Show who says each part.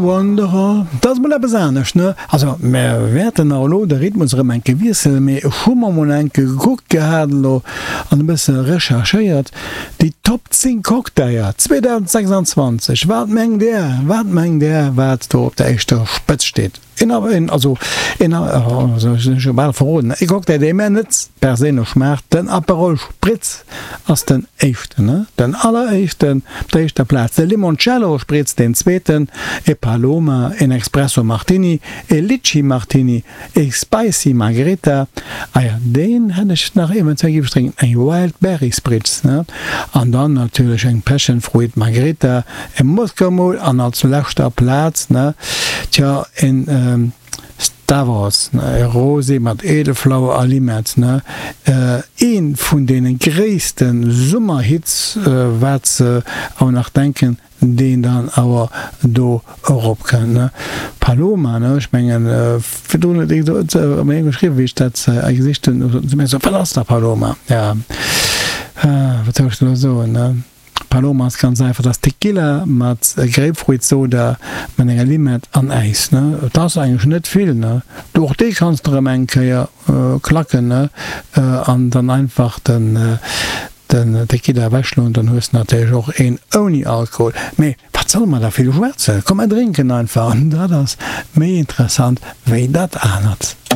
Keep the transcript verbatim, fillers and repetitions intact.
Speaker 1: Wanderer. Dat ass mol eppes anescht, ne? Also, mär wäerten nach elo de Rhythmus erëm eng Kéier wiesselen, mee ech hu mer mol eng Kéier gekuckt gehat elo an e bësse recherchéiert, déi Top zéng Cocktailer zweedausendsechsandzwanzeg. Wat mengt Där, wat mengt Där, wat do op der éischter Spëtz steet? Een, een, also een, also ech hu bal verroden, e Cocktail, dee mär net perséinlech schmaacht, den Aperol Spritz ass den éischten, ne? Den alleréischten op der éischter Plaz, de Limoncello Spritz deen zweeten, e Paloma, een Expresso Martini, e Litchi Martini, e Spicy Margherita, ah ja, deen hätt ech nach eventuell géif ech drénken, eng Wild Berry Spritz, ne? An dann natierlech eng Passion Fruit Margherita, e Moscow Mule an als leschter Plaz, ne, tja, en Stavros, ne, e Rosé mat Edelflower a Limett, ne, ee vun deene gréisste Summerhits, wat se awer nach denken, deen dann awer do eropkënnt, ne. Paloma, ne, ech mengen, virdrun huet ee mir geschriwwen, wéi ech dat gesicht hunn, huet se mir gesot, wat ass da Paloma? Ja, wat soll ech elo soen, ne? Paloma ass ganz einfach, dat ass Tequila mat Grapefruitsoda mat enger Limett an Äis, ne. Et ass eigentlech net vill, ne. Och dee kanns de erëm eng Kéier klacken, ne, an dann einfach den den Tequila ewechschloen, dann hues de natierlech och een ouni Alkohol. Mee wat solle mer da vill schwätzen, komm mer drénken einfach, an dat ass méi interessant wéi dat anert.